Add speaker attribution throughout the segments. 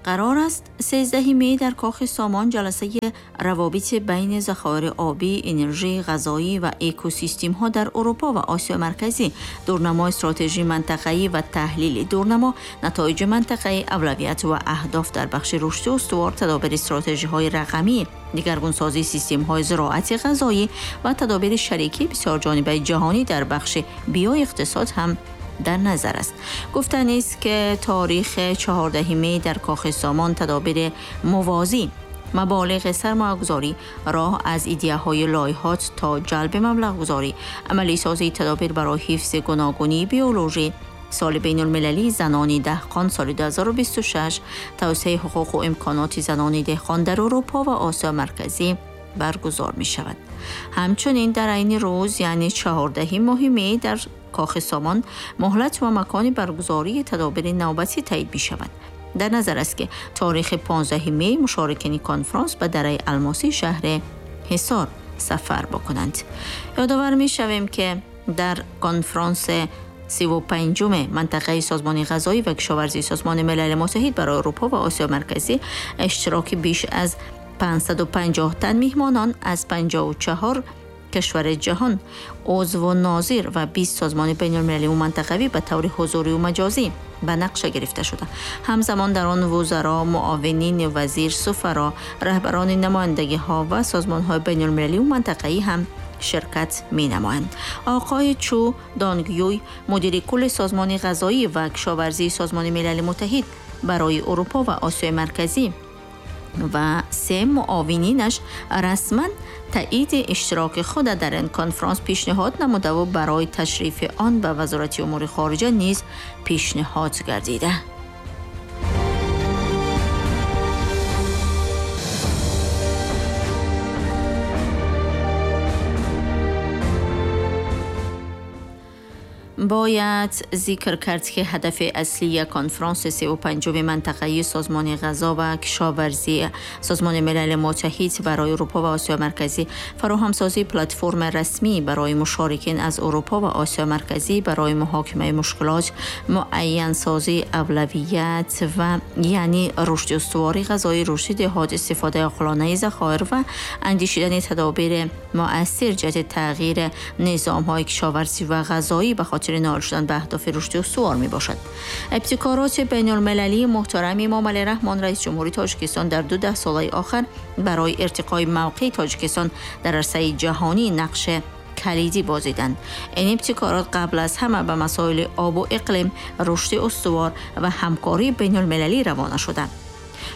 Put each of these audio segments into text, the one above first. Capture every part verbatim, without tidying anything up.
Speaker 1: قرار است سیزده می در کاخ سامان جلسه روابط بین ذخایر آبی، انرژی، غذایی و اکوسیستم ها در اروپا و آسیا مرکزی، دورنمای استراتژی منطقه‌ای و تحلیل دورنما، نتایج منطقه‌ای، اولویت و اهداف در بخش رشد استوار، تدابیر استراتژی های رقمی، دیگرگون‌سازی سیستم های زراعت غذایی و تدابیر شریکی بسیار جانبه جهانی در بخش بیو اقتصاد هم در نظر است. گفتنی است که تاریخ چهارده می در کاخ سامان تدابیر موازی، مبالغ سرمایه‌گذاری، راه از ایده‌های لایحات تا جلب مبلغ‌گذاری، عملی سازی تدابیر برای حفظ گوناگونی بیولوژی، سال بین المللی زنان دهقان سال دو هزار و بیست و شش، توسعه حقوق و امکانات زنان دهقان در اروپا و آسیا مرکزی برگزار می شود. همچنین در عین روز یعنی چهارده ماه می در کاخ سامان مهلت و مکان برگزاری تدابیر نوبتی تایید می شود. در نظر است که تاریخ پانزده می مشارکین کنفرانس به دره الماسی شهر حصار سفر بکنند. یادآور می شویم که در کنفرانس سی و پنجم منطقه سازمان غذایی و کشاورزی سازمان ملل متحد برای اروپا و آسیا مرکزی اشتراک بیش از پانصد و پنجاه تن میهمانان از پنجاه و چهار کشور جهان، عضو و ناظر و بیست سازمان بین‌المللی و منطقوی به طور حضوری و مجازی به نقشه گرفته شده. همزمان در آن وزرا، معاونین وزیر، سفرا، رهبران نمایندگی‌ها و سازمان‌های بین‌المللی و منطقه‌ای هم شرکت می‌نمایند. آقای چو دانگیوی، مدیر کل سازمان غذایی و کشاورزی سازمان ملل متحد برای اروپا و آسیای مرکزی و سه معاونینش رسما تایید اشتراک خود در این کنفرانس پیشنهاد نموده و برای تشریف آن به وزارت امور خارجه نیز پیشنهاد گردیده. باید ذکر کرد که هدف اصلی کنفرانس سی و پنجم منطقه‌ای سازمان غذا و کشاورزی سازمان ملل متحد برای اروپا و آسیا مرکزی فراهمسازی پلتفرم رسمی برای مشارکین از اروپا و آسیا مرکزی برای محاکمه مشکلات، معین سازی اولویت و یعنی رشد استواری غذایی، رشد دهات، استفاده عاقلانه ذخایر و اندیشیدن تدابیر مؤثر جهت تغییر نظام‌های کشاورزی و غذایی به خاطر نائل شدن به اهداف رشد استوار می باشد. ابتکارات بین المللی محترم امام علی رحمان رئیس جمهوری تاجیکستان در دو ده ساله آخر برای ارتقای موقع تاجیکستان در عرصه جهانی نقش کلیدی بازیدند. این ابتکارات قبل از همه به مسائل آب و اقلیم، رشد استوار و همکاری بین المللی روانه شدند.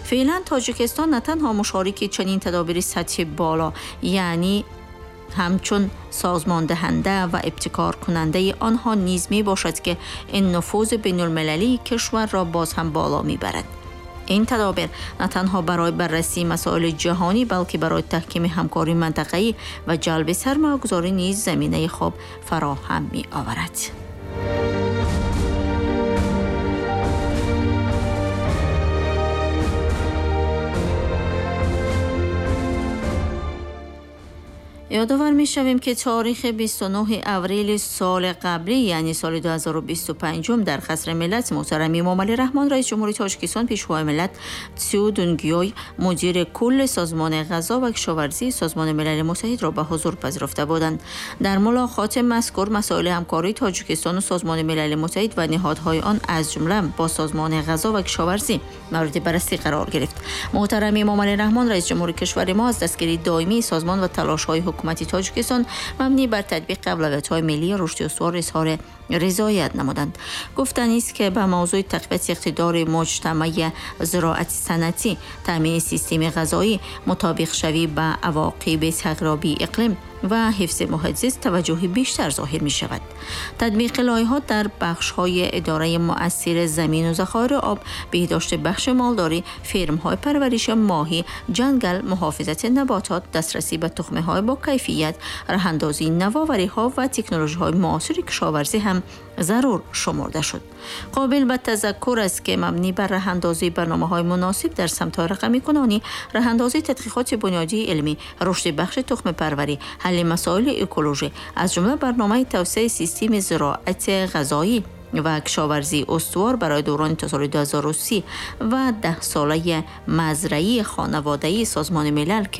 Speaker 1: فعلا تاجیکستان نه تنها مشارک چنین تدابیر سطح بالا یعنی همچون سازمان دهنده و ابتکار کننده آنها نیز می باشد که این نفوذ بین المللی کشور را باز هم بالا می برد. این تدابیر نه تنها برای بررسی مسائل جهانی بلکه برای تحکیم همکاری منطقه‌ای و جلب سرمایه‌گذاری نیز زمینه خوب فراهم می آورد. یادآور می‌شویم که تاریخ بیست و نه اوریل سال قبلی یعنی سال دو هزار و بیست و پنج در قصر ملت محترم امام علی رحمان رئیس جمهوری تاجیکستان پیشوای ملت تسیو دونگیوی مدیر کل سازمان غذا و کشاورزی سازمان ملل متحد را به حضور پذیرفته بودند. در ملاقات مذکور مسائل همکاری تاجیکستان و سازمان ملل متحد و نهادهای آن از جمله با سازمان غذا و کشاورزی مورد بررسی قرار گرفت. محترم امام علی رحمان رئیس جمهوری کشور ما از دستگیری دائمی سازمان و تلاش‌های حکومت تاجیکستان مبنی بر تطبیق اولویت‌های ملی رشد استوار اظهار رضایت نمودند. گفتنی است که به موضوع تقویت اقتدار مجتمع زراعت صنعتی، تامین سیستم غذایی، مطابق شوی به عواقب تغییرات اقلیم و حفظ محیط زیست توجه بیشتر ظاهر می شود. تطبیق لایحات در بخش‌های اداره مؤثر زمین و ذخایر آب، بهداشت بخش مالداری، فرم‌های پرورش ماهی، جنگل، محافظت نباتات، دسترسی به تخمه‌های با کیفیت، راه‌اندازی نوآوری‌ها و تکنولوژی‌های معاصر کشاورزی هم ضرور شمرده شد. قابل به تذکر است که مبنی بر راه‌اندازی برنامه‌های مناسب در سمت‌های رقمی کنونی، راه‌اندازی تحقیقات بنیادی علمی، رشد بخش تخم پروری، حل مسائل اکولوژی از جمله برنامه توسعه سیستم زراعت غذایی، و کشاورزی استوار برای دوران تا سال دو هزار و سی و ده ساله مزرعی خانواده‌ای سازمان ملل که